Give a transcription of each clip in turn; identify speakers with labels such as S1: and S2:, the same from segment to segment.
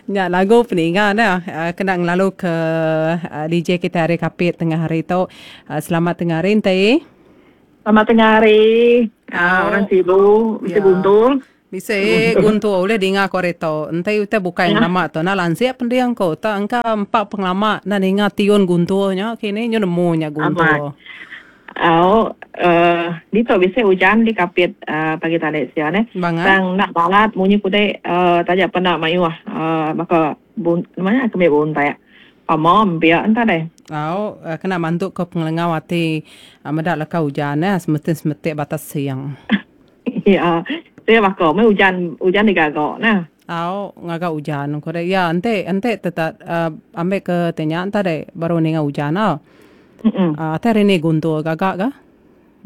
S1: Nya lagu peninga ne kena ngelalu ke DJ kitai ari Kapit tengah hari tu. Selamat tengah hari enti.
S2: Selamat tengah hari. Orang Sibu bisi guntur.
S1: Bisi guntur ulih dinga ku ari tu. Enti utai bukai ngelama tu enda lansik pending ku. Tak engka empa pengelama enda ninga tiun guntur nya kini nyu nemu nya guntur.
S2: Au uhh ditu bisi ujan di Kapit uhh pagi tadi sia neh. Tang enda balat munyi kudi uhh taja pen enda mayuh uhh baka bun nama nya kemi buntak pama empia enta deh.
S1: Au kena mantu ke pengelengau ati meda leka ujan neh semetin semetik batas sing.
S2: Iya sia baka meh ujan ujan digaga neh.
S1: Au ngaga ujan ku deh. Iya enti enti tetap uhh ambi ke ti nya enta deh baru ninga ujan au. Atai hari ni guntur gaga ga.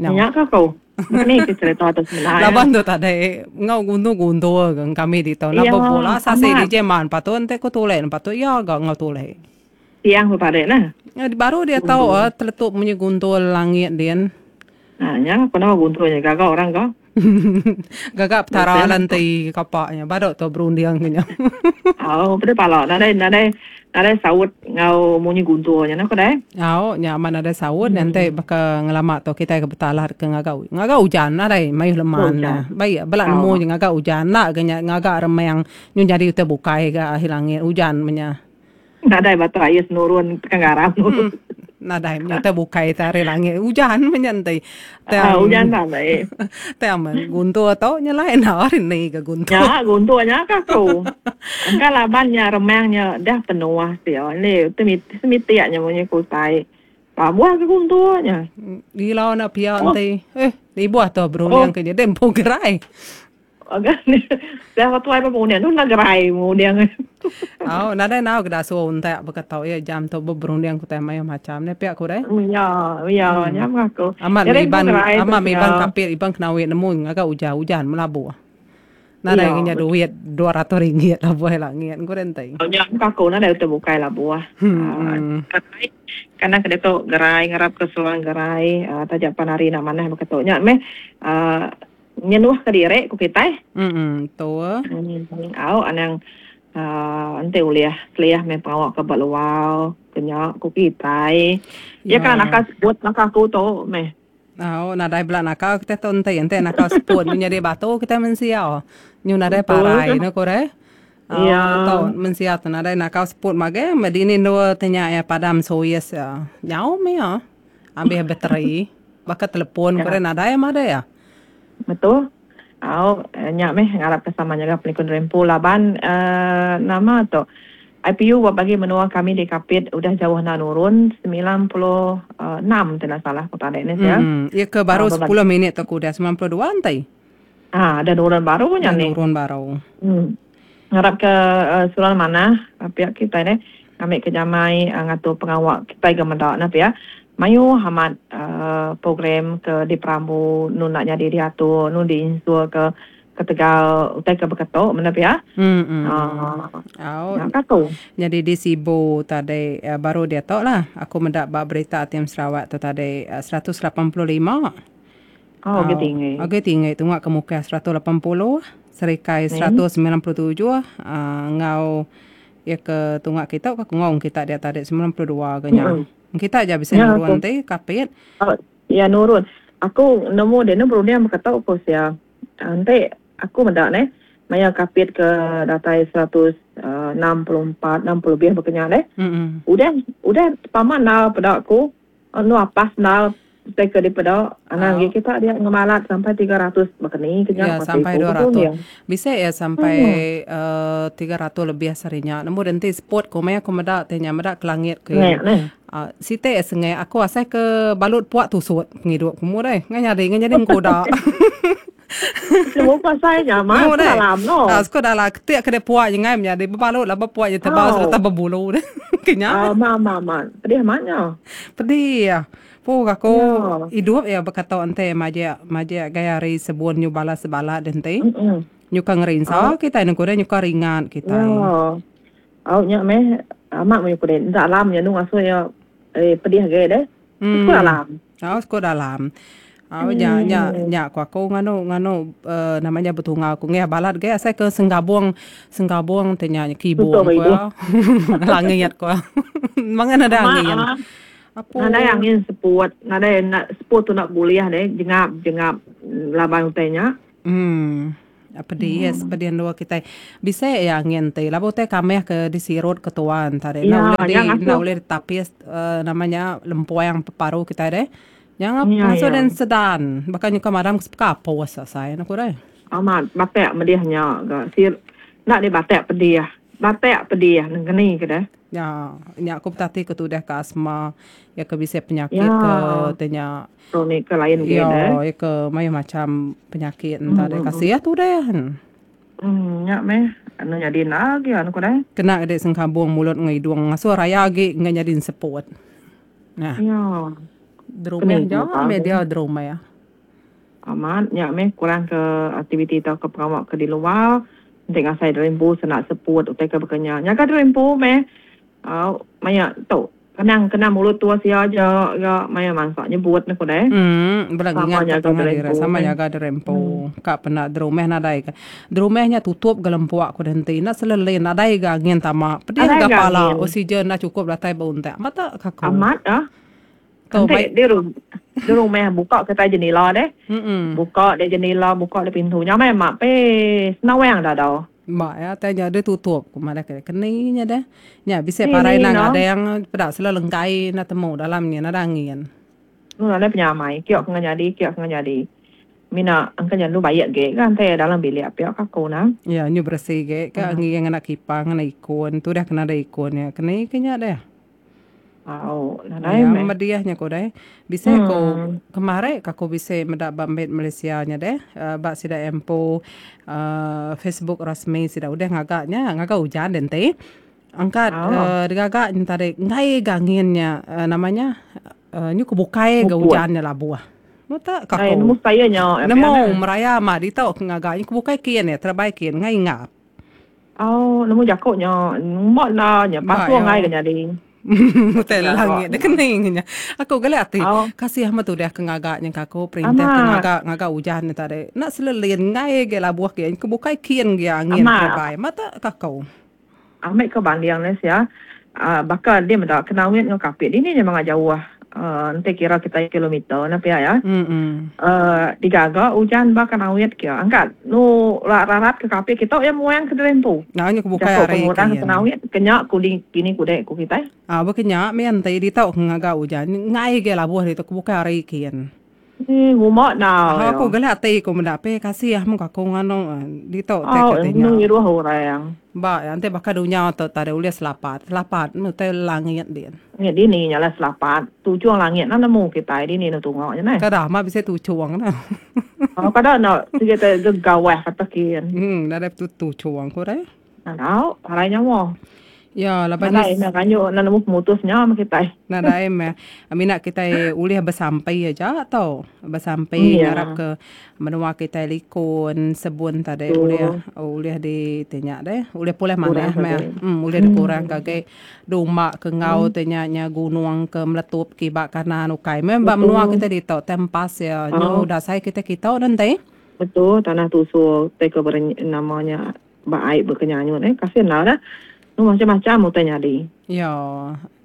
S2: Nya ka ku. Ni ke cerita tu sebenar.
S1: Laban tu tadi enggau guntur-guntur ga kami ditu enda bebula sasi DJ man patut enti ku tulek ne patut iya ga enggau tulek.
S2: Siang tu tadi nah.
S1: Baru dia tau teletup munyi guntur langit din.
S2: Ha nya ku nama guntur nya gaga orang ga.
S1: Gaga petara lah enti kapa nya badu tu berunding ke nya.
S2: Au peda pala nadai nadai nadai saut enggau munyi guntur nya nah ku deh.
S1: Au nya amat nadai saut nya enti baka ngelama tu kitai ke betalah ke ngaga ngaga ujan nadai mayuh leman ne. Baik bala nemu nya ngaga ujan enda ga nya ngaga remang nyu nyadi utai bukai ga ahi langit ujan meh nya.
S2: Nadai batu ais nurun tekan garam.
S1: Nadai meh utai bukai te ari langit ujan meh nya enti.
S2: Tang ujan nadai.
S1: Tang meh guntur tu nyelai enda ari ni ga guntur.
S2: Nya guntur nya ka aku. Engka laban nya remang nya dah penuh sia ni semitik nya munyi ku utai. Pabuh ke guntur nya.
S1: Gila enda pia enti. Eh ibuh tu berunding ke nyadi empu gerai.
S2: Dah tuai ba munding tu enda gerai munding.
S1: Au nadai nau ke dasuh untak baka tu iya jam tu beberunding ku tai mayuh macam ne pia ku deh.
S2: Ya ya nya meh aku.
S1: Amat meh iban amat meh iban kapit iban kenawi nemu ngaga ujan ujan melabuh. Nadai ke nya duit 200 ringgit labuh langit ku deh enti.
S2: Nya meh aku nadai utai bukai labuh. Kana ke diatu gerai ngarap ke seluang gerai taja pan hari enda manah baka tu nya meh Nyenuh ke diri ku kitai.
S1: Emm betul.
S2: Au anang aaa enti ulih seliah meh pengawa ke ba luar ke nya ku kitai. Iya ka nakal seput baka aku tu meh.
S1: Au nadai bela nakal kitai tu enti enti nakal seput nyu nyadi batu kitai mensia. Nyu nadai parai ne ku deh. Au tu mensia tu nadai nakal seput magi meh dini endur ti nya iya padam suis iya. Nyau meh iya. Ambih bateri baka telepon ku deh nadai mah deh iya.
S2: Betul. Au nya meh ngarap ke sama nyaga pelikun diri empu laban uhh nama tu IPU ba bagi menua kami di Kapit udah jauh enda nurun 96 ti enda salah ku tadi ne sia.
S1: Iya ke baru sepuluh minit tu ku udah 92 enti.
S2: Ha udah nurun baru nya
S1: nih. Udah nurun baru.
S2: Ngarap ke suran manah pia kitai deh ngambi ke nyamai ngatur pengawa kitai ga meda ne pia. Mayuh amat program ke diperambu nu enda nyadi diatur nu diinsur ke ketegal utai ke beketu menda pia.
S1: Au. Nya ka ku. Nyadi di Sibu tadi baru diatu lah aku meda ba berita Tim Sarawak tu tadi 185.
S2: Oh, agi tinggi.
S1: Agi tinggi tunga ke Mukah 180, Serikai 197 enggau iya ke tunga kita ke Kungong kita dia tadi 92 ga nya. Kita aja bisi nurun ti Kapit.
S2: Ya nurun. Aku nemu dia ne berunding baka tu ku sia. Enti aku meda neh maya Kapit ke datai 164, 60 lebih baka nya deh. Udah udah pama endar peda ku. Enu apas endar utai ke dipeda anang agi kita dia ngemalat sampai 300 baka ni ke
S1: nya. Ya sampai 200. Bisi iya sampai uhh 300 lebih sehari nya. Nemu deh enti seput ku meh aku meda ti nya meda ke langit ke. Uhh siti sengai aku asai ke balut puak tusut pengidup ku mu deh. Ngai nyadi ngai nyadi mengkuda.
S2: Nemu pasal nya mah
S1: sekut dalam no. Ah sekut dalam ketik ke dek puak nyengai menyadi bebalut laban puak nya tebal sereta bebulu deh. Ke
S2: nya. Ah ma ma ma pedih amat nya.
S1: Pedih. Puh aku idup iya bekato enti majak majak gaya hari sebun nyu bala sebala deh enti. Nyuka ngerinsa kitai nengku deh nyuka ringat kitai.
S2: Ya. Au nya meh amat meh pedih enda alam nya ngasuh iya pedih agi deh. Sekut dalam.
S1: Au sekut dalam. Au nya nya nya ku aku nganu nganu uh, nama nya betungau ku ngih balat ge asai ke senggabung senggabung te nya kibung ku iya. Langit ku. Mangan nadai angin.
S2: Apu. Nadai angin seput, nadai seput tu nak bulih deh jengap jengap laban utai nya.
S1: Uhh pedis pedih endur kitai bisi iya angin ti laban utai kamih ke disirut ke tuan tadi enda ulih di enda ulih ditapis uhh nama nya lempuang paru kitai deh. Nya ngasuh den sedan baka nyuka madam ke sepeka apus asai ne ku deh.
S2: Amat batak medih nya ga sir enda deh batak pedih batak pedih nengkeni ke deh.
S1: Nya nya ku betati ke tudah ke asma iya ke bisi penyakit ke ti nya.
S2: Kronik ke lain
S1: ke deh. Iya ke mayuh macam penyakit enta deh kasih tudah.
S2: Uhh nya meh anu nyadi enda agi anu ku deh.
S1: Kena deh sengkabung mulut enggau hidung ngasuh raya agi enggai nyadi enseput. Nah.
S2: Iya.
S1: Derumah ja meh dia derumah.
S2: Amat nya meh kurang ke aktiviti tauka pengawa ke di luar enti ngasai diri empu senda seput utai ke baka nya. Nyaga diri empu meh au maya tu kenang kena mulut tua sia aja ga maya mansa nyebut ne ku deh.
S1: Emm bela ngingat ke pangan diri sama nyaga diri empu. Ka penda derumah nadai ga. Derumah nya tutup ga lempuk ku deh enti enda selelin nadai ga angin tama pedih ga pala oksigen enda chukup datai ba untak. Mata ka
S2: ku. Amat ah. Tu enti di di rumah buka kitai jenila deh. Buka deh jenila buka deh pintu nya meh mak pe senawang dada.
S1: Ba iya tai nya deh tutup ku madah ke keni nya deh. Nya bisi parai enda ngadang peda selalu lengkai enda temu dalam nya nadai angin.
S2: Nu nadai penyamai kiok ke nyadi kiok ke nyadi. Mina engka nya anu baik ge ka enti dalam bilik pia ka aku nah.
S1: Ya nyu beresi ge ka ngi ngena kipang ngena ikon tudah ke nadai ikon nya keni ke nya deh.
S2: Au nadai meh.
S1: Ya mediah nya ku deh. Bisi ku kemari ka ku bisi meda ba mit Malaysia nya deh ba sida empu uhh Facebook rasmi sida udah ngaga nya ngaga ujan deh enti. Angkat uhh digaga nya tadi enggai ga angin nya uhh nama nya uhh nyu ke bukai ga ujan nya labuh. Meta ka ku. Nemu meraya ma ditu ke ngaga nyu ke bukai kin terebai kin enggai ingap.
S2: Au nemu jaku nya ngumba enda nya pasung ai ke nyadi.
S1: Utai langit deh kening nya. Aku galak ati kasih amat udah ke ngaga nya ka aku perintah ke ngaga ngaga ujan nya tadi. Enda selelin enggai agi labuh agi ke bukai kin agi angin terebai mata ka aku.
S2: Ambi ke banding ne sia baka dia meda Kenawit enggau Kapit dini nya mega jauh enti kira kitai kilometer ne pia iya. Digaga ujan ba Kanawit kia angkat nu rarat ke Kapit kitu iya muang ke diri empu.
S1: Jaku
S2: pengurang ke Kanawit ke nya kudi kini kude ku kitai.
S1: Ba ke nya mih enti ditu ke ngaga ujan enggai agi labuh ditu ke bukai hari kin.
S2: Eii nguma enda
S1: iya. Aku galak ati ku meda peh kasih mung aku nganu ditu tai
S2: ke ti nya. Ngiruh orang.
S1: Ba iya enti baka dunya tu tadi ulih selapat selapat meh utai langit din.
S2: Langit dini nya lah selapat tujung langit enda nemu kitai dini ne tunga nya neh.
S1: Kada amat bisi tuchung ne.
S2: Kada enda sigi te gegawah kata kin.
S1: Emm nadai tuchung ku deh.
S2: Tau, parai nyawa.
S1: Ya,
S2: laban Nadai meh kanyu enda nemu pemutus nya meh kitai.
S1: Nadai meh. Mina kitai ulih besampi aja tau. Besampi yeah. ngarap ke menua kitai likun, sebun tadi ulih ulih di ti nya deh. Ulih pulih manah meh. Hmm, ulih dikurang ke agi dumba ke enggau ti nya nya gunung ke meletup kiba kanan ukai meh ba menua kitai ditu tempas iya. Nyu dasai kitai kitu nenti.
S2: Betul, tanah tusur tai ke nama nya. Ba ai bekenyanyut eh kasih enda dah. Nu macam-macam utai nyadi.
S1: Ya,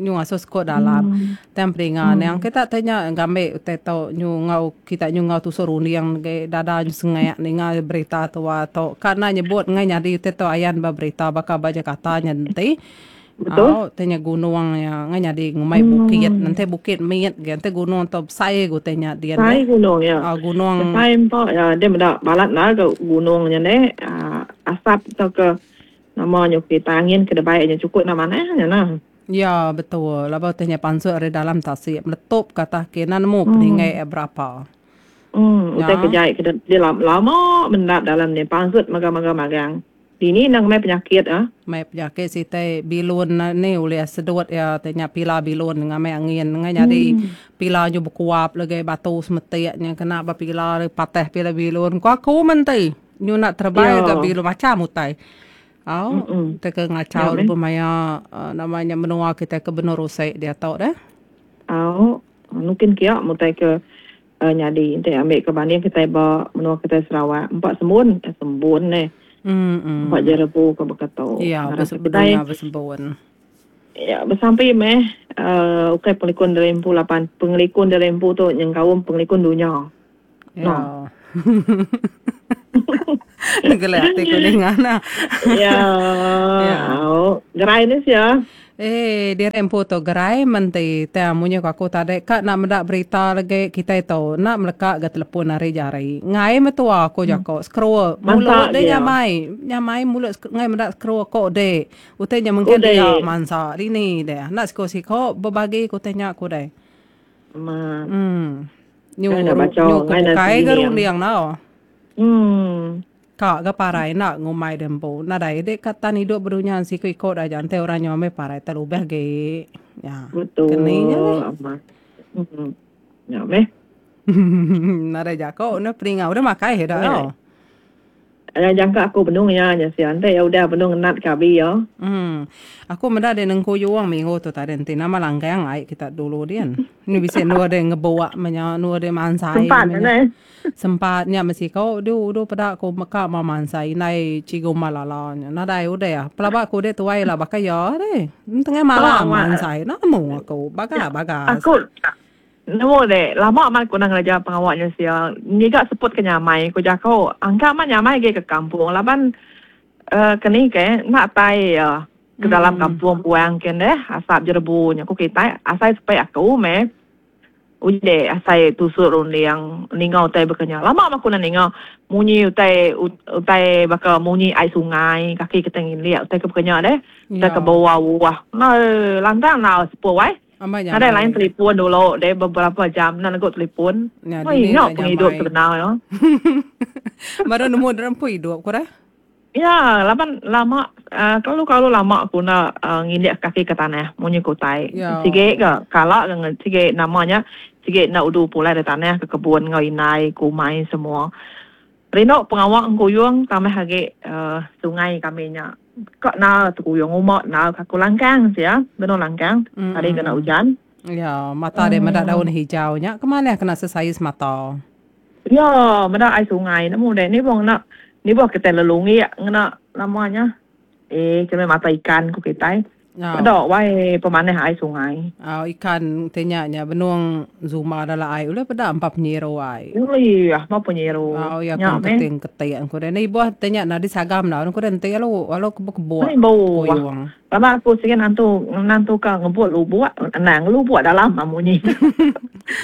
S1: nyu asuh sekut dalam. Hmm. Tang peringa hmm. Yang kita tanya ngambi utai tu nyu ngau kita nyu ngau tusur runding ge dada nyu sengak ninga berita tua tu. Ka enda nyebut ngai nyadi utai tu ayan ba berita baka ba Jakarta nya enti.
S2: Betul.
S1: Au tanya gunung nya ngai nyadi ngumbai bukit. Enti bukit mit ge enti gunung tu besai ge utai nya
S2: din. Besai gunung
S1: ya. Au gunung.
S2: Besai empa ya dia meda balat enda ga gunung nya neh asap tauka nama nya kita angin ke debai nya cukup enda manah nya nah.
S1: Ya betul laban utai nya pansut ari dalam tasik meletup ka atas enda nemu peninggai berapa.
S2: Umm utai ke jai ke dia lama mendap dalam nya pansut magang-magang magang. Dini endang meh penyakit ah.
S1: Meh penyakit siti bilun ni ulih sedut iya ti nya pila bilun ngambi angin ngan nyadi pila nyu bekuap lagi batu semetik nya kena ba pila patah pila bilun ku aku meh enti nyu enda terebai ga bilun macam utai. Au ti ke ngachau lebuh maya nama nya menua kitai ke benung rusik diatu deh.
S2: Au nukin kia meh utai ke. Nyadi enti ambi ke banding kitai ba menua kitai Sarawak empa sembun eh sembun neh. Empa jerebu ke baka tu.
S1: Iya kitai besembun.
S2: Iya besampi meh uhh ukai pengelikun diri empu laban pengelikun diri empu tu nyengkaum pengelikun dunya.
S1: Iya. Geli ati ku ninga nah.
S2: Iya. Au gerai ne sia.
S1: Eh diri empu tu gerai menti tang munyi ku aku tadi ka nak meda berita lagi kitai tu enda meleka ga telepon ari jari. Ngai metua ku jako scroll mulut deh nyamai nyamai mulut ngai meda scroll ko dek. Utai nya mungkin dia mansa dini deh. Enda siko siko bebagi ku utai nya ku deh.
S2: Amat.
S1: Em. Nyu nyu ke bukai ga runding tau.
S2: Em.
S1: Ka ga parai enda ngumbai deh empu. Nadai dek ka tan idup bedunya siku iko da aja enti orang nyau meh parai telubih agi.
S2: Nya. Betul.
S1: Keni nya meh.
S2: Amat. Em. Nya meh.
S1: Nadai jako ne peninga udah makai ida tau.
S2: Nya jangka aku benung iya nya sia enti iya udah benung ngenat ke abi iya.
S1: Uhh. Aku meda dek nengku juong minggu tu tadi enti nama langgang ai kita dulu din. Ni bisi endur dek ngebuk meh nya endur dek mansai
S2: Sempat
S1: meh nya.
S2: neh.
S1: Sempat nya mesti ko du du peda ku meka ma mansai indai cikgu Malala nya. Nadai udah. Pelaba ku dek tuai la baka iya deh. Tengah malam mansai nemu aku baga baga.
S2: Aku Nemu deh, lama amat ku enda ngereja pengawa nya sia. Ngiga seput ke nyamai ku jaku. Angka amat nyamai agi ke kampung laban uhh ke ni ke enda tai iya ke dalam kampung puang kin deh asap jerebu nya ku kitai asai sepi aku meh. Uji deh asai tusut runding ninga utai baka nya. Lama amat ku enda ninga munyi utai utai baka munyi ai sungai kaki kitai ngindik utai ke baka nya deh. Utai ke beuah-uah. Lantang enda seput wai.
S1: Amai
S2: Nadai
S1: nyamai.
S2: lain telipon dulu deh beberapa jam enda negu telipon.
S1: Nya
S2: Oi
S1: dini
S2: nya
S1: enda
S2: pengidup
S1: nyamai.
S2: sebenar ya.
S1: Baru nemu diri empu idup ku deh.
S2: Ya laban lama uhh kelalu kelalu lama ku enda uhh ngindik kaki ke tanah munyi ke utai.
S1: Ya.
S2: Sigi ga kala ga sigi nama nya sigi enda udu pulai ari tanah ke kebun enggau indai ku umai semua. Rindu pengawa engkuyung tambah agi uhh sungai kami nya. Ka na tekuyung uma na ka aku langkang sia benung langkang hari kena ujan.
S1: Ya mata dia meda daun hijau nya ke manah kena sesais mata.
S2: Ya meda ai sungai nemu deh ni boh ngena ni boh kitai lelunggik ngena nama nya eh cemeh mata ikan ku kitai. Peda wai pemanah ai sungai.
S1: Au ikan ti nya nya benung zumba dalam ai ulih peda empa penyiru ai.
S2: Ulih empa penyiru.
S1: Au iya ke keting keting ku deh. Ibuh ti nya nadai sagam enda ku deh enti alu alu kebuk kebuk kuyung.
S2: Lama aku sigi nantu nantu ka ngebut lubuk anang lubuk dalam munyi.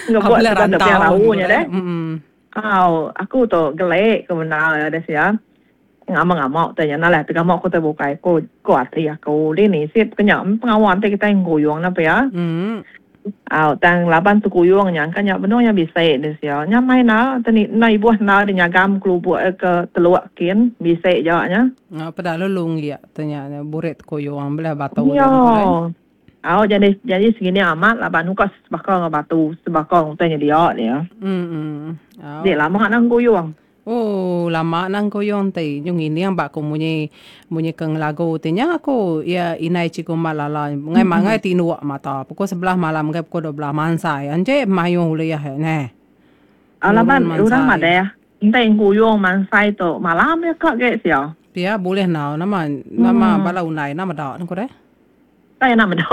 S2: Ngebut
S1: serta
S2: tebing rau nya deh. Au aku tu gelek ke bendar deh sia. Ngama ngama utai nya nalah tegama ku utai bukai ku ku ati aku dini sip ke nya pengawa enti kitai nguyung ne pia. Au tang laban tekuyung nya engka nya benung nya bisi deh sia nya mai enda enda ibuh enda deh nyagam kelubuk ke teluk kin bisi ja nya.
S1: Au peda lulung lia te nya burit tekuyung belah batu
S2: dia. Au jadi jadi segini amat laban uka sebaka enggau batu sebaka enggau utai nyedia dia.
S1: Au.
S2: Di lama nang kuyung.
S1: Ooh lama nang kuyung ti nyu ngining ba ku munyi munyi ke ngelagu ti nya aku iya indai cikgu mat lala ngai mangai tinduk mata pukul sebelah malam ngagai pukul 12 mansai anjik mayuh ulih neh.
S2: Laban orang madah enti engkuyung mansai tu malam iya ka ge sia.
S1: Pia bulih enggau nama nama bala undai enda meda ne ku deh.
S2: Tai enda meda.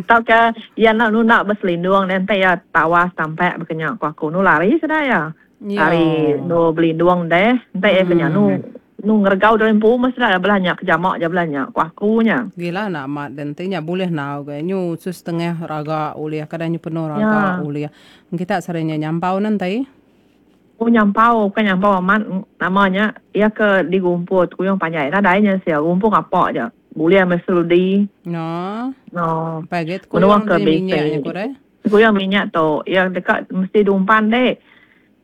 S2: Tauka iya enda nunda beselindung deh enti iya tawas tampak baka nya ku aku nu lari sida iya. Ari nu belindung deh enti iya ke nya nu nu ngeregau diri empu meh sida belah nya ke jama ja belah nya ku aku nya.
S1: Gila enda amat deh enti nya bulih enggau ga nyu su setengah raga ulih kadang nyu penuh raga ulih. Kita sehari nya nyampau ne enti.
S2: Oh nyampau bukan nyampau amat nama nya iya ke digumpul tekuyung panjai nadai nya sia gumpul ngapa ja bulih meh seludi.
S1: No.
S2: No.
S1: Pai agi tekuyung ti minyak nya ku deh.
S2: Tekuyung minyak tu iya deka mesti diumpan deh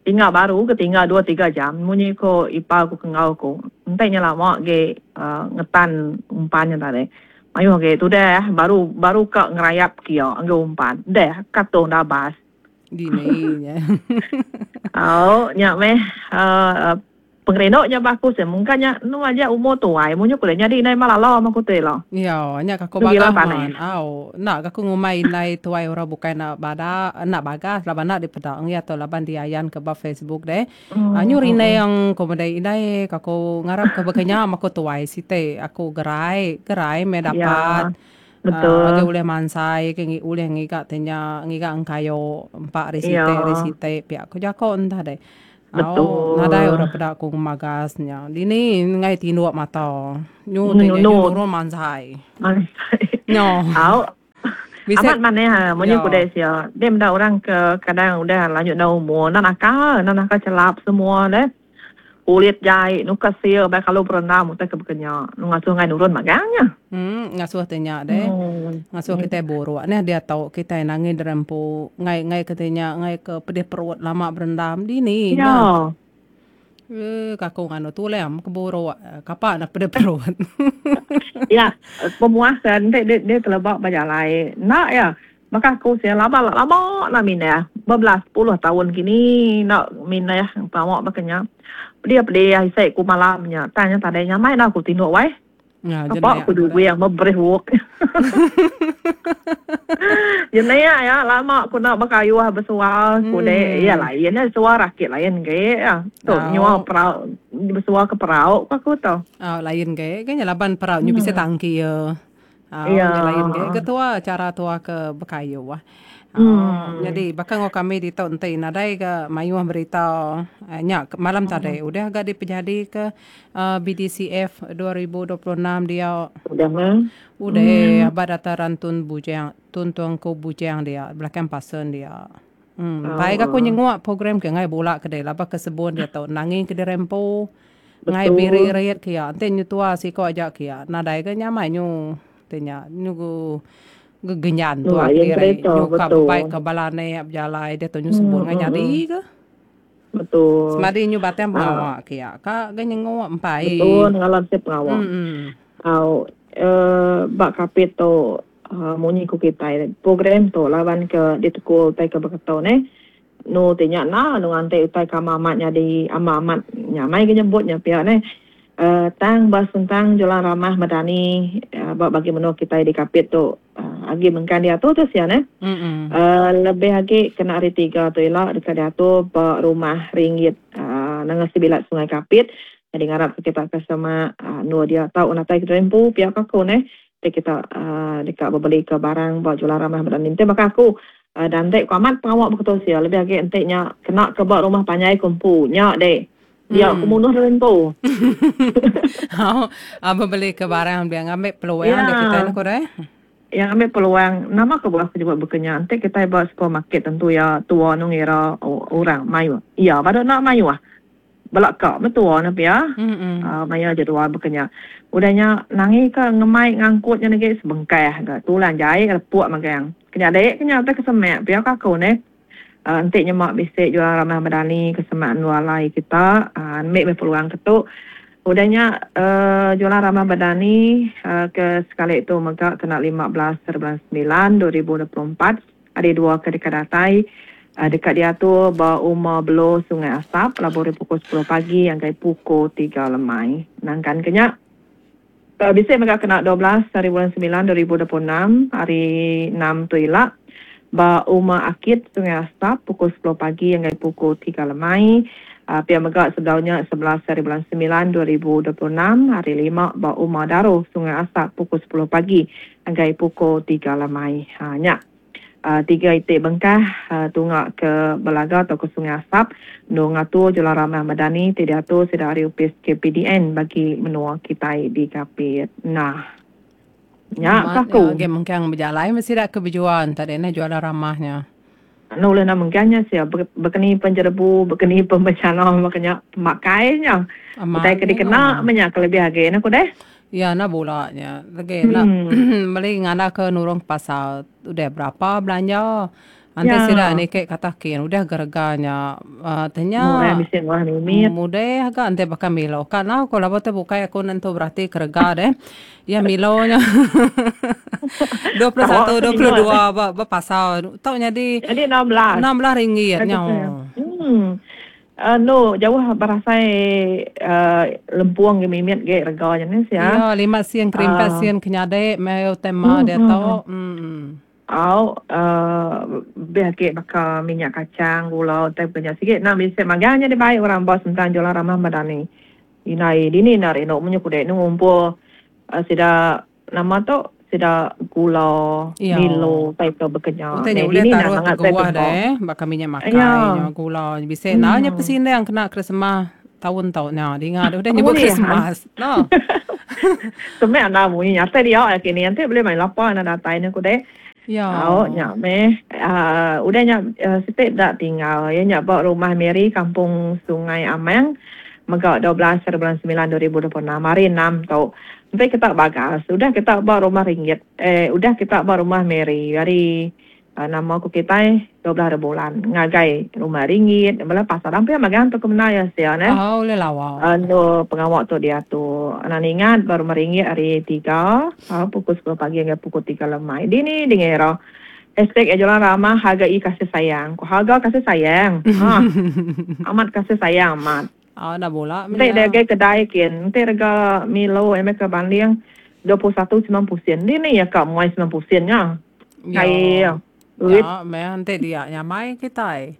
S2: tinggal baru ke tinggal dua tiga jam munyi ko ipar ku ke enggau ku enti nya lama agi uhh ngetan umpan nya tadi mayuh agi tudah baru baru ka ngerayap kia enggau umpan deh katung dabas.
S1: Dini nya.
S2: Au nya meh uhh. Pengerindu nya ba aku seh mungka nya enu aja umur tuai munyi ku deh nyadi indai malala meh ku tu ila.
S1: Iya nya ka ku bagah man au enda ga ku ngumbai indai tuai orang bukai enda bada enda bagas laban enda dipeda ngi ato laban diayan ke ba facebook deh. Nyu rinding ku meda indai ka ku ngarap ke baka nya meh ku tuai siti aku gerai gerai meh dapat agi ulih mansai agi ulih ngiga ti nya ngiga engkayu empa ari siti ari siti pia ku jako entah deh. Au nadai orang peda ku ngemagas nya. Dini enggai tinduk mata. Nyu ti nya nyu nurun mansai.
S2: Mansai. Nyo. Au. Bisi amat manah munyi ku deh sia. Deh meda orang ke kadang udah lanjut enda umur enda nakal, enda nakal chelap semua deh. Kulit jai nuka sil bai kalu berendam utai ke baka nya. Ngasuh enggai nurun magang nya.
S1: Em ngasuh ti nya deh. Ngasuh kitai buruk neh diatu kitai nangi diri empu enggai enggai ke ti nya enggai ke pedih perut lama berendam dini nya. Eee ka aku nganu tulang ke buruk kapa ne pedih perut.
S2: Ya pemuas enti deh teleba bejalai enda iya baka aku sia laba lama enda mindah bebelas puluh taun kini enda mindah pengawa baka nya pedih pedih isi ku malam nya tang nya tadi nyamai enda ku tinduk weh. Apa ku juwing beberih wok. Jenik ya lama ku enda bekayuh besuar ku dek iya lain ya suar aki lain ge ya. Tu nyua perau besuar ke perau ku aku tu.
S1: Au lain ge ke nya laban perau nyu bisi tangki iya. Au nya lain ge ke tua chara tua ke bekayuh. Au nyadi baka enggau kami ditu enti nadai ga mayuh berita nya malam tadi udah ga dipejadi ke BDCF 2026 dia.
S2: Udah meh.
S1: Udah aba dataran Tun Bujang Tun Tuanku Bujang dia belakang pasen dia. Em bai ga aku nyenguk program ke enggai bula ke deh laban ke sebun diatu nangi ke diri empu enggai biri-rit ke iya enti nyetua siko aja ke iya nadai ga nyamai nyu ti nya nyu Gegenyan tua kediri nyukap bebai ke bala anek bejalai diatu nyu sebut ngan nyadi ke.
S2: Betul.
S1: Semadi nyu batang pengawa ke iya ka ga nyenguk empai.
S2: Betul ngalan sep pengawa. Au ba kapit tu munyi ku kitai program tu laban ke ditekul utai ke baka tu neh. Nu ti nya enda nu nganti utai ke amat amat nyadi amat amat nyamai ke nyebut nya pia neh. Tang ba sentang Julan Ramah Madani ba bagi menua kitai di Kapit tu agi mengkang diatur tu sia neh. Lebih agi kena hari tiga tu ila deka diatur ba Rumah Ringgit Nanga Sibilat Sungai Kapit. Nyadi ngarap ke kita ke semak endur dia tau natai ke empu pia ka aku neh ti kita deka bebeli ke barang ba Julan Ramah Madani. Enti baka aku dan enti ku amat pengawa beketu sia lebih agi enti nya kena ke ba rumah panjai ku empu nya deh. Dia aku munuh diri empu.
S1: Au, bebeli ke barang dia ngambi peluang yeah. kita ni ku deh.
S2: Yang ngambi peluang, nama kebuah aku nyebut baka nya? Enti kitai ba supermarket tentu iya tua nu ngira orang mayuh. Iya badu enda mayuh. Bela ka meh tua ne pia. Mm-hmm. Maya jadual baka nya. Udah nya nangi ka ngemai ngangkut nya negi sebengkah ga tulang jai lepuk magang. Kenyadi ke nya utai ke semak pia ka aku neh. Enti nyema bisi jual ramah medani ke semak endur alai kita, ambi meh peluang ke tu. Udah nya jualan ramah medani ke sekali tu mega kena 15 hari bulan semilan 2024, hari dua ke deka datai deka diatur ba Uma Belo Sungai Asap labuh ari pukul sepuluh pagi ngagai pukul tiga lemai. Nangkan ke nya, Bisi mega kena 12 hari bulan semilan 2026, hari enam tu ila, ba Uma Akit, Sungai Asap, pukul sepuluh pagi ngagai pukul tiga lemai. Pia mega sebedau nya 11 hari bulan semilan 2026, hari lima ba Uma Daro, Sungai Asap, pukul sepuluh pagi ngagai pukul tiga lemai. Nya. Tiga iti bengkah tunga ke Belaga tauka Sungai Asap endur ngatur Julan Ramah Madani ti diatur sida ari opis KPDN bagi menua kitai di Kapit. Nah.
S1: Nya ka aku. Agi mengkang bejalai meh sida ke bejual enta deh neh jualan ramah nya.
S2: Anu ulih enda mengkang nya sia bekeni penjerebu bekeni pembencana baka nya pemakai nya. Utai ke dikena meh nya kelebih agi ne ku deh.
S1: Ya enda bula nya. Legi enda meli nganda ke nurung pasar udah berapa belanja. Enti ya. sida niki kata kin udah ga rega nya uh, tanya.
S2: Murah bisi murah mimit.
S1: Mudah ga enti baka Milo. Ka nau ko laba tu bukai aku nentu berati ke rega deh. Ya Milo nya. 21 22 ba ba pasar. Tau nyadi
S2: Jadi 16.
S1: 16 ringgit nya.
S2: Hmm. Anu jauh berasai lempung ge mimit ge rega nya nih sia.
S1: Iya 5 sen kerimpat sen ke nyadi meh utai ma diatu.
S2: Au lebih agi baka minyak kacang gula utai baka nya sigi enda bisi magang nya dibai orang ba sentang jualan ramah madani. Indai dini enda rindu munyi ku dek ngumpul sida nama tu sida gula milo utai ke baka nya.
S1: Utai nya ulih taruh teguah deh baka minyak makai nya gula bisi enda nya pesindang kena krismas taun tu nya dinga deh udah nyebut krismas no.
S2: Semak enda munyi nya asai dia kini enti bulih mai lapa enda datai ne ku deh. Au nya meh uhh udah nya siti da tinggal iya nya ba rumah Mary kampung Sungai Amang mega 12 hari bulan semilan 2026 hari enam tu. Enti kita bagas udah kita ba rumah ringgit eh udah kita ba rumah Mary hari Nama ku kitai 12 hari bulan ngagai rumah ringgit bala pasar ampih magang tu ke bendar iya sia neh.
S1: Oh ulih lawa.
S2: Endur pengawa tu diatur. Anang ingat ba rumah ringgit hari tiga pukul 10 pagi ngagai pukul 3 lemai. Dini dingira hashtag iya jualan ramah hargai kasih sayang. Ku harga kasih sayang. Ha. Amat kasih sayang amat.
S1: Oh enda bula
S2: meh nya. Enti deh kedai kin enti rega Milo iya meh ke banding 21 90 sen. Dini iya ka muai 90 sen nya.
S1: Ai duit. Ya meh enti dia nyamai kitai.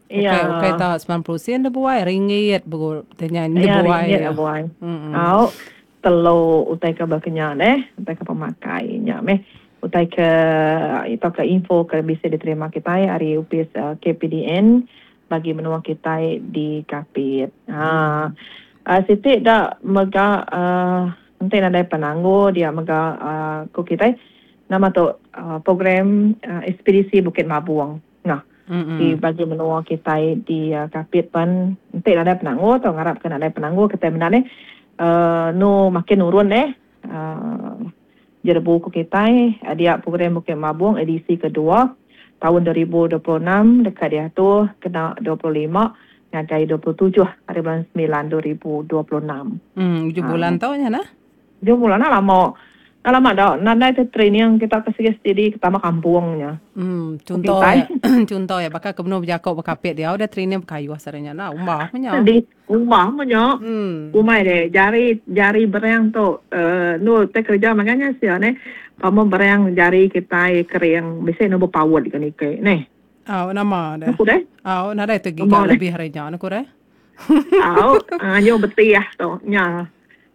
S1: Ukai ukai ta 90 sen dibuai ringgit begu ti nya
S2: dibuai. Ringgit dibuai. Au telu utai ke baka nya deh utai ke pemakai nya meh utai ke tauka info ke bisi diterima kitai ari opis KPDN bagi menua kitai di Kapit. Ha siti da mega enti nadai penanggul dia mega ku kitai Nama tu program Ekspedisi Bukit Mabung nah di bagi menua kitai di Kapit pen enti nadai penanggul tau ngarap ke nadai penanggul kitai menda neh nu makin nurun neh jerebu ku kitai dia program Bukit Mabung edisi kedua taun 2026 deka diatur kena 25 ngagai 27 hari bulan semilan 2026.
S1: Ujung bulan tu nya nah.
S2: Ujung bulan enda lama. Enda lama da nadai te training kita ke sigi steady ke tama kampung nya.
S1: Em chunto iya chunto iya baka ke benung bejako bekapit diau deh training bekayuh sehari nya enda umbah meh nya.
S2: Di umbah meh nya. Umai deh jari jari berang tu uhh endur te kerja mega nya sia neh pama berang jari kitai kering bisi ne bepaut ke niki neh.
S1: Au nama deh. Au nadai te giga lebih ari nya ne ku deh.
S2: Au anyu betih tu nya.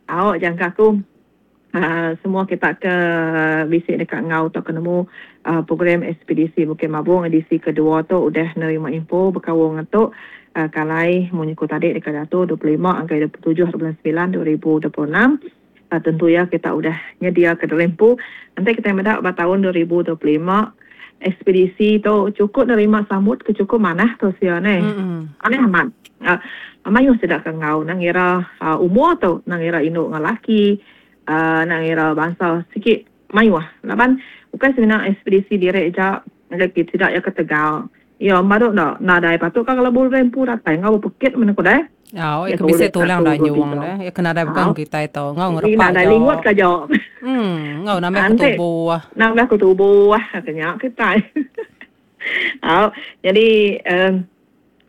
S2: Au jangka aku uhh semua kita ke bisi deka enggau tauka nemu uhh program Ekspedisi Bukit Mabong edisi kedua tu udah nerima info bekaul ngan tu uhh kalai munyi ku tadi deka diatur 25 ngagai 27 bulan semilan 2026 uhh tentu iya kita udah nyediaka diri empu enti kitai meda ba taun 2025 Ekspedisi tu chukup nerima sambut ke chukup manah tu sia neh. Manah amat. Mayuh sida ke enggau nang ngira umur tu, nang ngira indu enggau laki, nang ngira bansa sigi mayuh. Laban ukai semina ekspedisi diri aja ngagai sida iya ke tegal. Iya baru enda nadai patut ka kelabu diri empu datai enggau bepekit meh ku deh.
S1: Au, iya ke bisi tulang danyung deh. Iya ke nadai bukan kitai tu. Enggau ngerepa
S2: nadai lingut ka jo.
S1: Hmm, enggau nambah ke tubuh.
S2: Nambah ke tubuh ke nya kitai. Au, jadi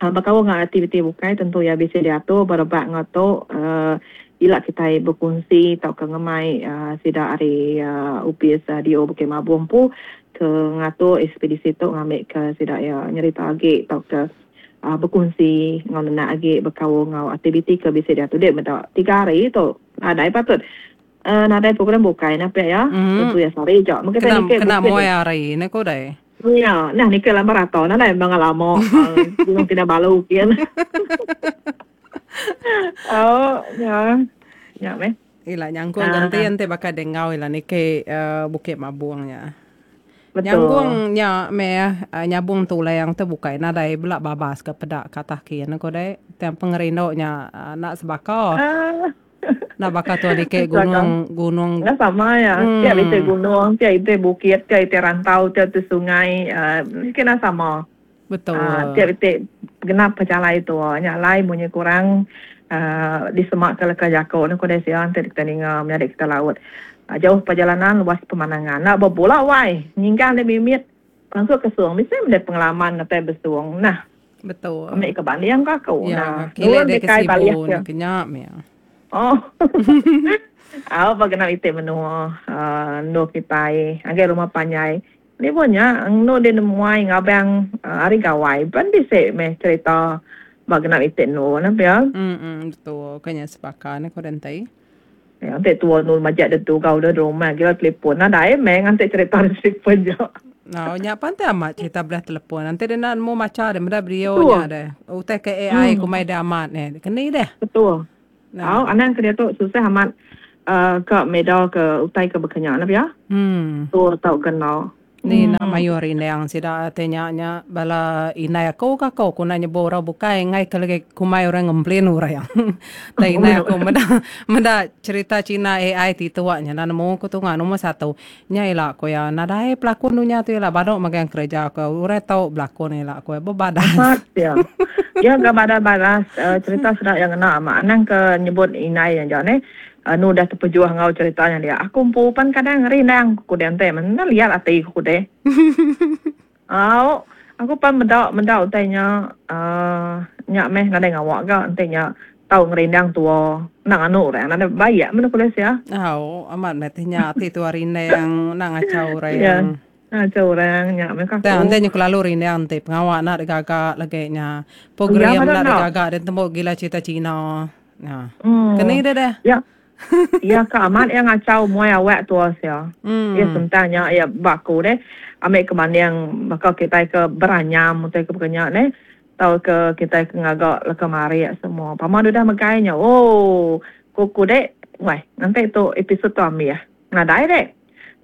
S2: um bekaul enggau aktiviti bukai tentu iya bisi diatur berebak enggau tu um ila kitai bekunsi tauka ngemai um sida ari um opis DO Bukit Mabong empu ke ngatur ekspedisi tu ngambika sida iya nyerita agi tauka bekunsi enggau nenak agi bekaul enggau aktiviti ke bisi diatu deh meda tiga hari tu nadai patut nadai program bukai ne pia iya tentu iya sehari aja
S1: mung kitai niki kena muai hari ne ku deh.
S2: Iya nah niki lambar rata nadai bangat lama Gunung Kinabalu kin. Au nya nya meh.
S1: Ila nyangkung ganti enti baka deh enggau ila niki Bukit Mabong nya. Betul. Nyanggung nya meh nyabung tulang tu bukai nadai bela babas ke peda ke atas kin ku deh. Tang pengerindu nya enda sebaka. Enda baka tuan ike gunung gunung.
S2: Enda sama iya. Tiap iti gunung, tiap iti bukit, tiap iti rantau, tiap iti sungai uhh enda sama.
S1: Betul.
S2: Tiap iti genap pejalai tu. Nya alai munyi kurang uhh disema ke leka jaku ne ku deh sia enti kita ninga menyadi kita laut. Jauh perjalanan luas pemandangan. Enda bebula wai nyingkang deh mimit pansut ke sung bisi meh deh pengalaman atai besung nah.
S1: Betul.
S2: Ambi ke banding ka aku.
S1: Ya, nah, kile dek ke Sibu ne kenya meh.
S2: Oh. Au ba genap iti menua uh, endur kitai agai rumah panjai. Ni pun nya endur dia nemuai ngabang uh, hari gawai pan bisi meh cerita ba genap iti endur ne pia.
S1: Hmm, betul. Kenya sepakan ne ko dentai.
S2: Ya, enti tua nu majak dedu gau deh rumah gila telefon. Nadai meh nganti cerita di telefon je.
S1: Nah, nya pan ti amat cerita belah telefon. Nanti dia nak nemu macha deh meda video nya deh. Utai ke AI hmm. kumai deh amat ni. Keni deh.
S2: Betul. Nah. Au, anang ke dia tu susah amat uh, ke meda ke utai ke bekenya lah ya.
S1: Hmm.
S2: Tu tau kena.
S1: Ni enda mayuh rindang sida ti nya nya bala indai aku ka ko ku enda nyebut orang bukai enggai ke lagi kumbai orang ngemplin orang. Tai indai aku meda meda cerita cina AI ti tuak nya enda nemu ku tunga nombor satu. Nya ila ku iya nadai pelakon dunya tu ila badu megang kereja ku orang tau belakon ila ku iya bebadas.
S2: Amat iya. Iya ga badas badas cerita sida iya ngena amat anang ke nyebut indai aja neh. Anu udah tepejuh enggau cerita nya dia. Aku empu pan kadang rindang ku deh enti meh liat ati ku deh. Au, aku pan meda meda utai nya uhh nya meh nadai ngawa ga enti nya tau ngerindang tua enda nganu orang nadai baik meh ku deh sia.
S1: Au, amat meh ti nya ati tua rindang enda ngachau orang.
S2: Ya, ngachau orang nya meh ku aku.
S1: Tang enti nya kelalu rindang enti pengawa enda digaga lagi nya. Program enda digaga deh tembu gila cerita cina. Nah.
S2: Hmm.
S1: Keni deh deh.
S2: Ya. Ya ka amat ya ngacau muai awak tua sia.
S1: Hmm.
S2: Ya sentang nya ya ba aku deh. Ambil ke banding baka kitai ke beranyam utai ke bekenya neh. Tau ke kitai ke ngaga leka marik semua. Pama udah megai nya. Oh, ku ku dek. Wai, nanti tu episod tu ambil. Nadai dek.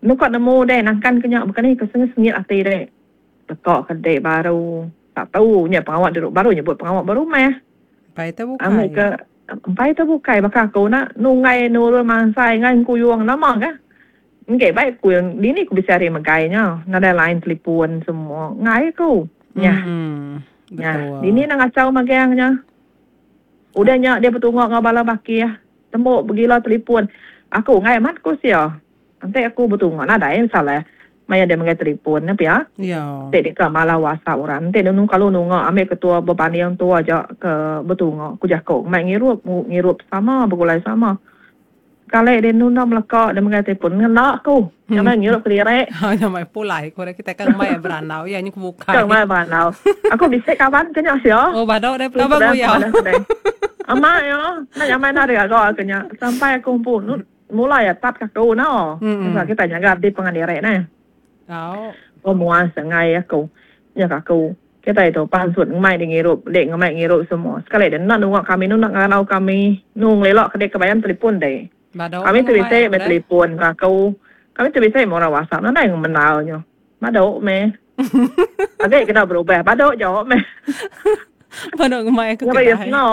S2: Nuka nemu dek nangkan ke nya bekeni ke sengit-sengit ati dek. Teka ke dek baru. Tak tau nya pengawa dulu baru nyebut pengawa berumah.
S1: Empai te bukai.
S2: Amai ke empai te bukai baka aku nak nunggai nurun mansai ngai engkuyung nama ka. Engke baik ku dini ku bisi hari megai nya nadai line telefon semua ngai ku. Nyah.
S1: Hmm.
S2: Nyah.
S1: Betul.
S2: Dini nak ngachau magang nya. Udah nya dia betunga enggau bala bakih tembu begila telefon. Aku ngai amat ku sia. Enti aku betunga nadai salah maya dia megai telefon ne pia.
S1: Ya.
S2: Enti deka malah whatsapp orang enti nunu kalu nunga ambi ketua bebanding tua aja ke betunga ku jaku mai ngirup ngirup sama begulai sama. Kali dia nunda meleka dia megai telefon ngena aku nya meh ngirup kediri.
S1: Ha nya meh pulai ku kita ke ngemai berandau iya nya ke bukai.
S2: Ke ngemai berandau. Aku bisi kaban ke nya sia.
S1: Oh badu deh kaban ku iya.
S2: Amat iya enda nyamai enda digaga ke nya sampai aku empu Mula iya tap ke aku no. Sebab kita nyaga di pangan diri neh.
S1: Au.
S2: Pemuas enggai aku. Nya ka aku. Kita itu pansut ngemai di ngirup, dik ngemai ngirup semua. Sekali dek enda nunga kami nu enda ngeranau kami. Nu ngelila ke dik ke bayan telefon dik.
S1: Badu
S2: Kami tu
S1: ngemai
S2: bisi
S1: aku
S2: meh
S1: deh.
S2: telefon ka aku. Kami tu bisi meh orang WhatsApp nadai ngemendar nyu. Badu meh. Agi kena berubah badu jo meh.
S1: Badu ngemai aku
S2: Ngeri
S1: kedai.
S2: seno.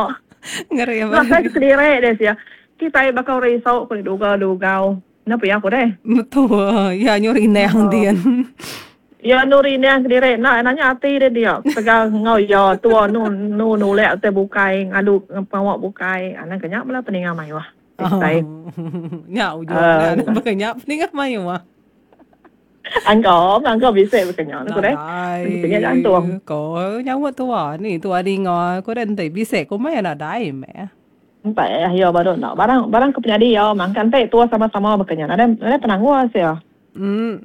S1: Ngeri
S2: Enda
S1: amat.
S2: sai kediri deh sia. Kitai baka orang isu ku dugau-dugau. Enda pia ku deh.
S1: Betul. Ya nyu rindang din.
S2: Ya nu rindang kediri enda nanya ati deh dia. Ketegal enggau iya tua nu nu nulak utai bukai ngadu pengawa bukai. Anang ke nya bala peninga mayuh. Kitai.
S1: Nya ujung uh, baka nya peninga mayuh.
S2: Angka, angka bisi baka nya ku deh.
S1: Nadai.
S2: Nya jantung.
S1: Ko nyawa tua ni tua dinga ku deh enti bisi ku meh nadai meh.
S2: Empai iya baru enda. Barang barang ke penyadi iya mangka enti tua sama-sama baka nya nadai nadai penanggul sia.
S1: Em.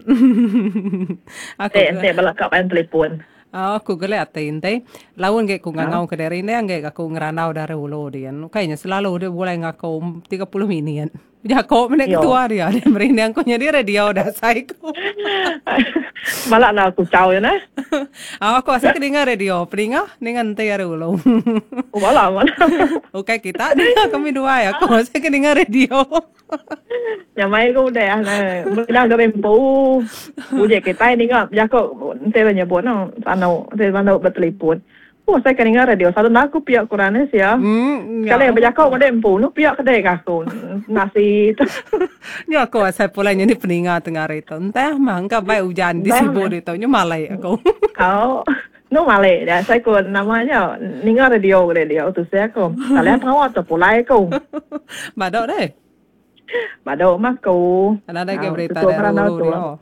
S1: Aku
S2: Enti enti bala ka main telefon.
S1: Aku geli ati enti laun agi ku ngangau ke diri enda agi aku ngerandau dari ulu din. Ukai nya selalu deh begulai enggau aku 30 minit. Jako mene ketua dia dia merinding ku nyadi radio dah asai ku.
S2: Malak na kuchau ya neh.
S1: Ah aku asai ke ninga radio peninga ninga enti ari ulu.
S2: Oh malak malak.
S1: Ukai kita ninga kami duai aku asai ke ninga radio.
S2: Nyamai ku udah ne meda diri empu. Uji kitai ninga jako enti nyebut no sanu enti sanu betelipon. Oh asai ke ninga radio selalu enda aku pia ku orang nih sia. Sekali bejako meda empu nu pia kedai ka aku nasi tu.
S1: Nya aku asai pulai nyadi peninga tengah hari tu. Entah mah engka bai ujan di sibu ditu nyu malai aku.
S2: Au nu malai dia asai ku nama nya ninga radio kedai dia tu sia aku. Salah pengawa tu pulai aku.
S1: Bado deh.
S2: Bado mah aku.
S1: Nadai ke berita dari ulu dia.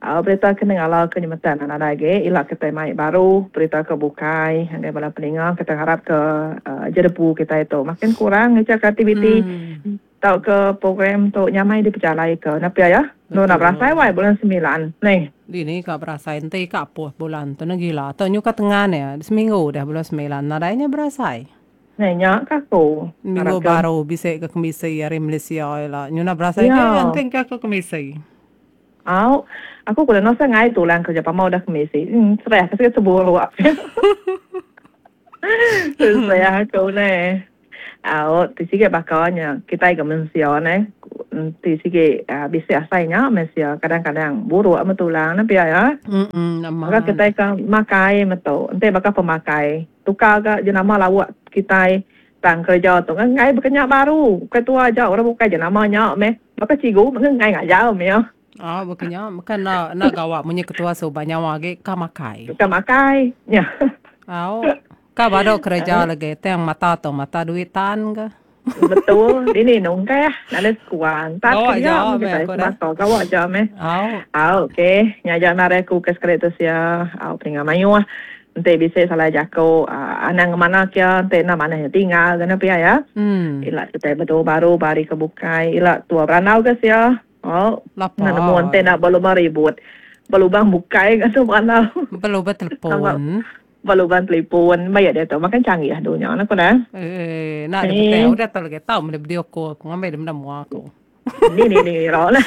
S2: Berita ke nengala ke nyemetak enda nadai agi ila kitai mai baru berita ke bukai ngagai bala peninga kitai ngarap ke jerebu kitai tu makin kurang ngereja ke aktiviti tauka program tu nyamai dipejalai ke enda pia ya. Enda enda berasai wai bulan semilan neh.
S1: Dini ka berasai enti ka apuh bulan tu ne gila tu nyuka tengan iya seminggu udah bulan semilan nadai nya berasai.
S2: Neh nya ka aku.
S1: Minggu baru bisi ke kemisi ari Malaysia ila nyuna berasai ke enti engka ke kemisi.
S2: Au, aku ku deno sangai tulang kerja pama udah kemisi. Serah ke sigi teburuk. Serah aku neh. Au, ti sigi baka nya kitai ga mensia neh. Ti sigi bisi asai nya mensia kadang-kadang buruk meh tulang ne pia ya. Baka kitai ke makai metu enti baka pemakai tukar ga jenama lauk kitai tang kereja tu enggai baka nya baru. Bukai tua aja orang bukai jenama nya meh. Baka cigu meh enggai ngajar meh iya.
S1: Oh baka nya bukan enda enda gawa munyi ketua suba nyawa agi ka makai.
S2: Ka makai nya.
S1: Au ka badu kereja lagi tang mata tu mata duit tan ka.
S2: Betul dini nungkah nadai sekuan tan Gawa kereja meh kitai sebaka gawa aja meh. Au. Au okey nya aja narai aku ke sekali tu sia au peninga mayuh. Enti bisi salah jaku anang ngemana kia enti enda manah nya tinggal ga ne pia ya. Ila kitai betu baru ba hari ke bukai ila tua berandau ga sia. Au enda nemu enti enda belubang ribut. Belubang bukai ga tu berandau.
S1: Belubang telefon.
S2: Belubang telefon ba iya diatu makin canggih dunya ne ku ne.
S1: Eee enda deh udah tu lagi tau meh video call ku ngambi deh meda mua aku.
S2: Ni ni ni ira lah.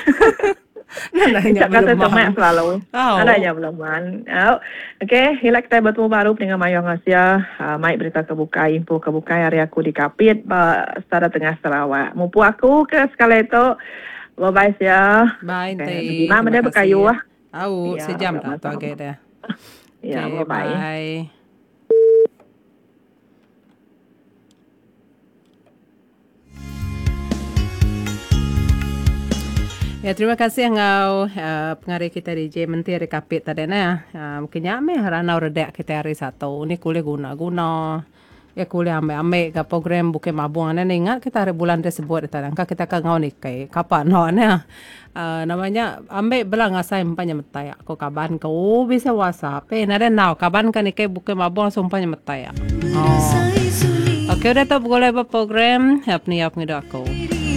S2: Nanya kata temak selalu. Oh. Ada nya belum man. Oh. Okey, ila kita bertemu baru dengan mayuh ngasia mai berita ke bukai, info ke bukai hari aku di Kapit ba Sada Tengah Sarawak. Mupu aku ke sekali tu. Bye bye sia.
S1: Bye okay.
S2: Terima kasih. Berkayu ah.
S1: Au, ya, sejam dah tu agi dah.
S2: Ya, okay, bye bye.
S1: Bye. Ya, terima kasih enggau uh, pengari kita DJ Menteri ari Kapit tadi nah. Uh, mungkin nya meh ranau redak kita hari Satu. Ni kuliah guna-guna. Ya kuliah ambil-ambil ke program Bukit Mabung ni ingat kita hari bulan tersebut tadi. Angka kita ke ngau nikai. Kapa no ni. Uh, namanya ambil bela ngasai empa nyemetai aku kaban ke oh, bisa WhatsApp. Eh nada nau kaban ke nikai Bukit Mabung sumpah nyemetai. Oh. Okey udah tu begulai ba program. Help ni up ngidu aku.